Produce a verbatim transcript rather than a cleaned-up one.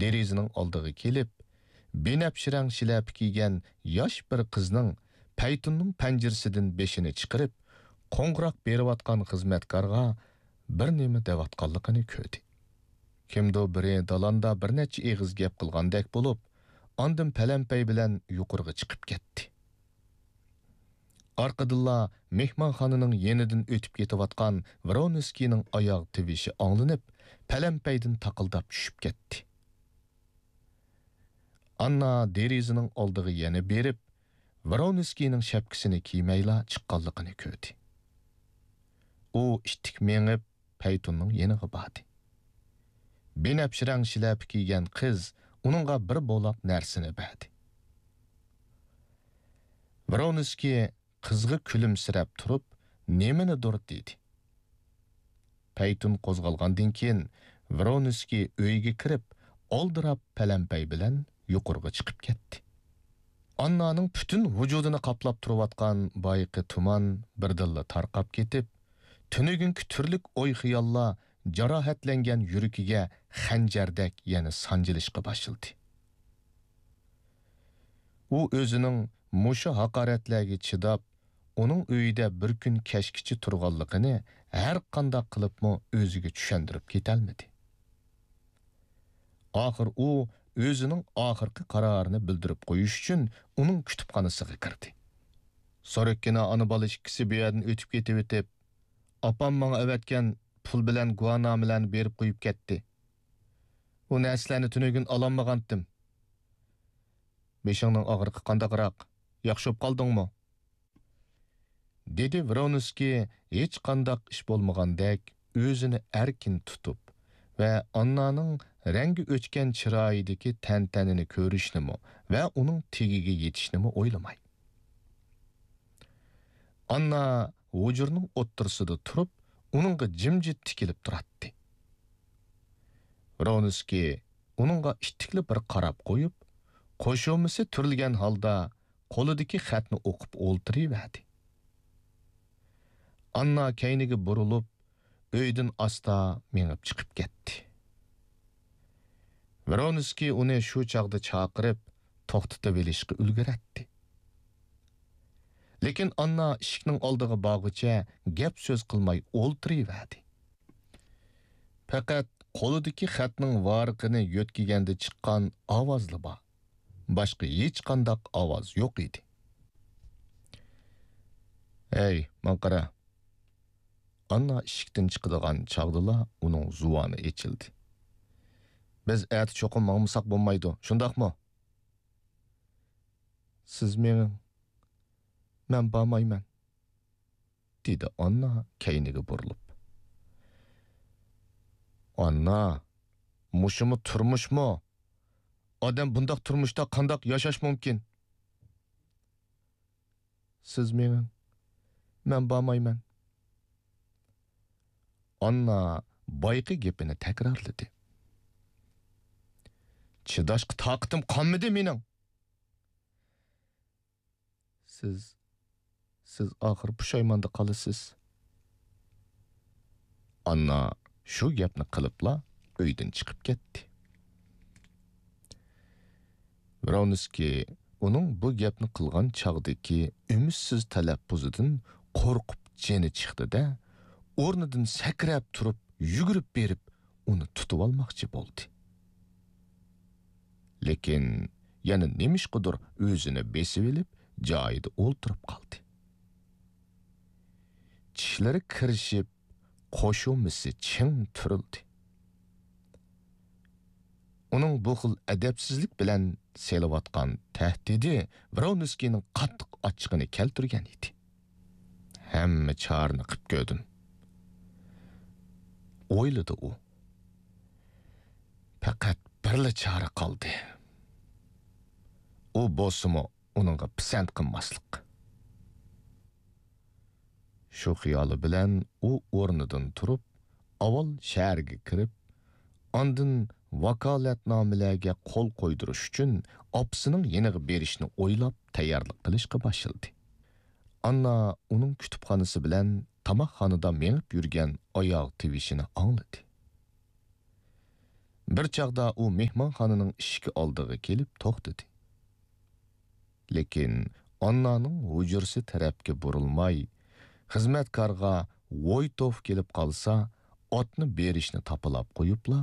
دېرىزىنىڭ ئالدىغا كېلىپ، بىنەپشە رەڭ شىلەپە كىيگەن ياش بىر قىزنىڭ پەيتۇننىڭ پەنجىرىسىدىن بېشىنى چىقىرىپ، قوڭغۇراق بېرىۋاتقان خىزمەتكارغا بىر نېمە دەۋاتقانلىقىنى كۆردى. كىمدۇ بىرى دالاندا بىر نەچچە ئېغىز گەپ قىلغاندەك بولۇپ، ئاندىن پەلەمپەي بىلەن يۇقىرىغا چىقىپ كەتتى. ئارقىدىنلا مېھمانخانىنىڭ يېنىدىن ئۆتۈپ كېتىۋاتقان ۋرونسكىينىڭ ئاياغ تىۋىشى ئاڭلىنىپ، پەلەمپەيدىن تاقىلداپ چۈشۈپ كەتتى. ئاننا دېرىزىنىڭ ئالدىغا يەنە بېرىپ، ۋرونسكىينىڭ شەپكىسىنى كىيمەيلا چىققانلىقىنى كۆردى. ئۇ ئىتتىك مېڭىپ، پەيتۇننىڭ يېنىغا باردى. بىنەپشە رەڭ شىلەپە كىيگەن قىز ئۇنىڭغا بىر بولاق نەرسىنى بەردى. ۋرونسكىي قىزغا كۈلۈمسىرەپ تۇرۇپ، نېمىنىدۇر دېدى. پەيتۇن قوزغالغاندىن كېيىن، ۋرونسكىي ئۆيگە كىرىپ، ئالدىراپ پەلەمپەي بىلەن يۇقىرىغا چىقىپ كەتتى. ئاننانىڭ پۈتۈن ۋۇجۇدىنى قاپلاپ تۇرۇۋاتقان بايىقى تۇمان بىردىنلا تارقاپ كېتىپ، تۈنۈگۈنكى تۈرلۈك ئوي-خىياللار جاراھەتلەنگەن يۈرىكىگە خەنجەردەك يەنە سانجىلىشقا باشلىدى. ئۇ ئۆزىنىڭ مۇشۇ ھاقارەتلەرگە چىداپ، ئۇنىڭ ئۆيىدە بىر كۈن كەچكىچە تۇرغانلىقىنى ھەر قانداق قىلىپمۇ ئۆزىگە چۈشەندۈرۈپ كېتەلمىدى. ئاخىر ئۇ ئۆزىنىڭ ئاخىرقى قارارىنى بىلدۈرۈپ قويۇش ئۈچۈن ئۇنىڭ كۇتۇپخانىسىغا كىردى. سورۇككىنا ئانا-بالا ئىككىسى بۇ يەردىن ئۆتۈپ كېتىۋېتىپ، ئاپام ماڭا ئەۋەتكەن پۇل بىلەن گۇۋاھنامىلەرنى بېرىپ قويۇپ كەتتى. ئۇ نەرسىلەرنى تۈنۈگۈن ئالالمىغانتىم. بېشىڭنىڭ ئاغرىقى قانداقراق؟ ياخشى بولۇپ قالدىڭمۇ؟ دېدى ۋرونسكىي ھېچقانداق ئىش بولمىغاندەك ئۆزىنى ئەركىن تۇتۇپ ۋە ئاننانىڭ رەڭگى ئۆچكەن چىرايىدىكى تەنتەنىنى كۆرۈشنىمۇ ۋە ئۇنىڭ تېگىگە يېتىشنىمۇ ئويلىماي. ئاننا ھۇجرىنىڭ ئوتتۇرىسىدا تۇرۇپ، ئۇنىڭغا جىمجىت تىكىلىپ تۇراتتى. ۋرونسكىي ئۇنىڭغا ئىتتىكلا بىر قاراپ قويۇپ، قوشۇمىسى تۈرۈلگەن ھالدا قولىدىكى خەتنى ئوقۇپ ئولتۇرۇۋەردى. ئاننا كەينىگە بۇرۇلۇپ، ئۆيدىن ئاستا مېڭىپ چىقىپ كەتتى. ۋرونسكىي ئۇنى شۇ چاغدا چاقىرىپ، توختىتىۋېلىشقا ئۈلگۈرەتتى. لېكىن ئاننا ئىشىكنىڭ ئالدىغا بارغۇچە گەپ-سۆز قىلماي ئولتۇرۇۋەردى. پەقەت قولىدىكى خەتنىڭ ۋارىقىنى يۆتكىگەندە چىققان ئاۋازلا بار. باشقا ھېچقانداق ئاۋاز يوق ئىدى. «ھەي، ماڭا قارا!» ئاننا ئىشىكتىن چىقىدىغان چاغدىلا ئۇنىڭ زۇۋانى ئېچىلدى. «بىز ئەتە چوقۇم ماڭمىساق بولمايدۇ، شۇنداقمۇ؟» «سىز مېڭىڭ، مەن بارمايمەن.» دېدى ئاننا كەينىگە بۇرۇلۇپ. «ئاننا، مۇشۇمۇ تۇرمۇشمۇ؟ ئادەم بۇنداق تۇرمۇشتا قانداق ياشاش مۇمكىن؟» «سىز مېڭىڭ، مەن بارمايمەن.» ئاننا بايىقى گېپىنى تەكرارلىدى. «چىداشقا تاقىتىم قالمىدى مېنىڭ.» «سىز، سىز ئاخىر پۇشايماندا قالىسىز.» ئاننا شۇ گەپنى قىلىپلا ئۆيدىن چىقىپ كەتتى. ۋرونسكىي ئۇنىڭ بۇ گەپنى قىلغان چاغدىكى ئۈمىدسىز تەلەپپۇزىدىن قورقۇپ جېنى چىقتى-دە، ئورنىدىن سەكرەپ تۇرۇپ، يۈگۈرۈپ بېرىپ، ئۇنى تۇتۇۋالماقچى بولدى. لېكىن يەنە نېمىشقىدۇر ئۆزىنى بېسىۋېلىپ، جايىدا ئولتۇرۇپ قالدى. چىشلىرى كىرىشىپ، قوشۇمىسى چىڭ تۈرۈلدى. ئۇنىڭ بۇ خىل ئەدەپسىزلىك بىلەن سېلىۋاتقان تەھدىتى ۋرونسكىينىڭ قاتتىق ئاچچىقىنى كەلتۈرگەن ئىدى. «ھەممە چارىنى قىپ كۆردۈم»، ئويلىدى ئۇ. «پەقەت بىرلا چارە قالدى. ئۇ بولسىمۇ ئۇنىڭغا پىسەنت قىلماسلىق.» شۇ خىيالى بىلەن ئۇ ئورنىدىن تۇرۇپ، ئاۋۋال شەھەرگە كىرىپ، ئاندىن ۋاكالەتنامىلەرگە قول قويدۇرۇش ئۈچۈن ئاپىسىنىڭ يېنىغا بېرىشنى ئويلاپ تەييارلىق قىلىشقا باشلىدى. ئاننا ئۇنىڭ كۇتۇپخانىسى بىلەن تاماقخانىدا مېڭىپ يۈرگەن ئاياغ تىۋىشىنى ئاڭلىدى. بىر چاغدا ئۇ مېھمانخانىنىڭ ئىشىكى ئالدىغا كېلىپ توختىدى. لېكىن ئاننانىڭ ھۇجرىسى تەرەپكە بۇرۇلماي، خىزمەتكارغا ۋويتوف كېلىپ قالسا، ئاتنى بېرىشنى تاپىلاپ قويۇپلا،